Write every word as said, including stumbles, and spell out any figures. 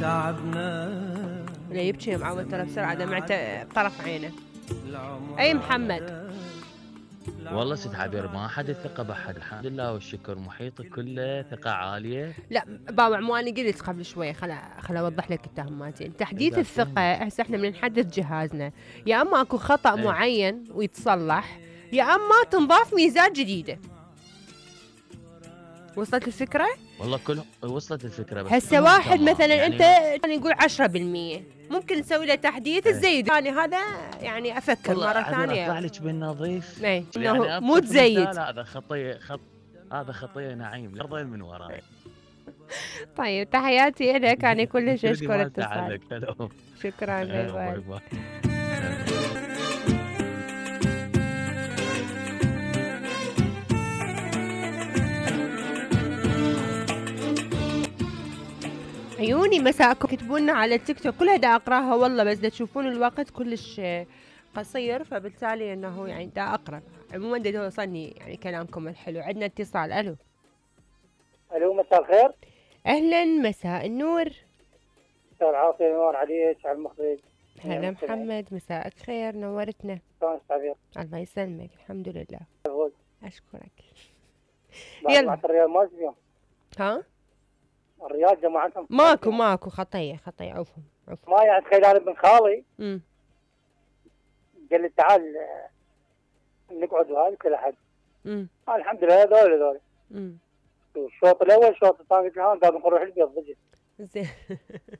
تعبنا لا يبكي معود ترى بسرعة دمعته بطرف عينه. أي محمد؟ والله ست عبير ما حد الثقة بحد، الحمد لله والشكر، محيطي كله ثقة عالية. لا باوع مو انا قلت قبل شوي، خل خل اوضح لك التهماتين. تحديث الثقة هسه احنا من نحدث جهازنا يا اما اكو خطأ ايه. معين ويتصلح، يا اما تنضاف ميزات جديدة. وصلت الفكرة؟ والله كلهم وصلت الفكرة، بس هسه كلهم واحد تمام. مثلا يعني انت يعني نقول عشرة بالمية ممكن نسوي له تحديث ايه. تزيد، يعني هذا يعني افكر والله مرة عبير ثانية. اطلع لك بالنظيف. ايه يعني انه مو أبسط تزيد. مثال، هذا خطية خط هذا خطية نعيم الأرضين من وراي. طيب تحياتي لك، انا كلش تدري اشكر ما اتصالك. تعلق. هلو. شكرا، باي آه، باي باي. باي. عيوني مساءكم، كتبوا لنا على التيك توك كلها دا اقراها والله، بس دا تشوفون الوقت كلش قصير، فبالتالي انه يعني دا اقرا. عموما دا يوصلني يعني كلامكم الحلو. عندنا اتصال. الو. الو مساء الخير. اهلا، مساء النور. مساء العافيه، نور عليك على المخرج. هلا محمد، مساءك خير، نورتنا. شلون تعبير؟ الله يسلمك، الحمد لله. فوز. اشكرك. يلا يلا. الرياض ما اليوم. ها؟ الرياض جماعتهم ماكو ماكو خطيه خطيه، عفوا عفوا. ما يعني تخيل انا ابن خالي امم قال لي تعال آه، نقعد وهذا كل احد. امم آه الحمد لله هذول هذول. امم الشوط الاول الشوط الثاني قلت له ها قال نروح البيت ضجت. زين.